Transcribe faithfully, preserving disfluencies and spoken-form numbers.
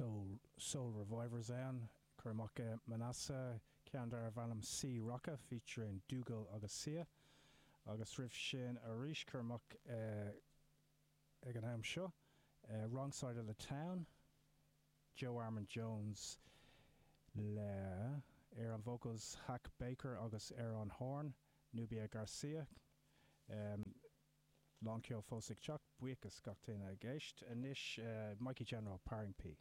Soul, Soul Revivers ann. Chuir amach Manasseh ceann darbh ainm Sea Rocka featuring Dougal agus Sia. Agus roimh sin arís chuir amach uh, ag an am seo. Uh, Wrong Side of the Town, Joe Armon-Jones le ar an vocals Hak Baker agus ar an horn Nubia Garcia. Um, Lánceol fós ag teacht buíochas gach duine ag éisteacht anois uh, Mikey General Paring P.